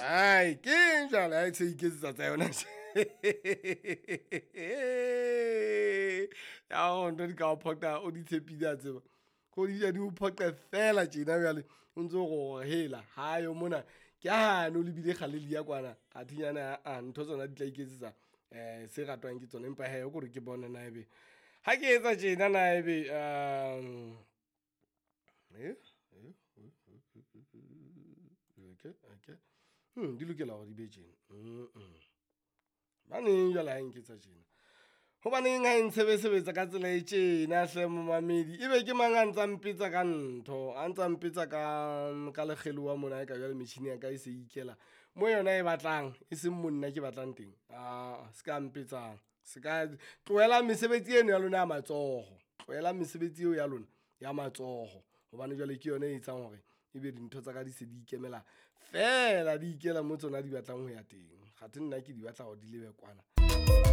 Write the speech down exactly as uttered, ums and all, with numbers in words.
Ai, ke eng jwale ha e se iketsetsa tsa yona tje? Ya ho ntho di ka o phoqa o di tshepile wa tseba. Ko di di o phoqe feela tjena jwale o ntso re hela hayo mona. Ke hane o lebile Galelia kwana athe nyane aa ntho tsona di tla iketsetsa se ratwang ke tsona. Empa hee ko re ke bone na ebe ha ke etsa tjena na ebe okay, okay. Di lokela hore di be tjena hobaneng jwale ha e nketsa tjena? Hobaneng ha e ntshebesebetsa ka tsela e tjena hle momamedi? Ebe ke mang a ntsa mpetsa ka ntho, a ntsa mpetsa ka ka lekgelowa mona eka jwale metjhini ya ka e se ikela mo yona e batlang, e seng mo nna ke batlang teng. Aa ska mpetsang se ka, tlohelang mesebetsi eno ya lona ya matsoho. Tlohelang mesebetsi eo ya lona ya matsoho hobane jwale ke yona e etsang hore ebe dintho tsa ka di se di ikemela feela, di ikela moo tsona di batlang ho ya teng. Kgathe nna ke di batla hore di lebe kwana.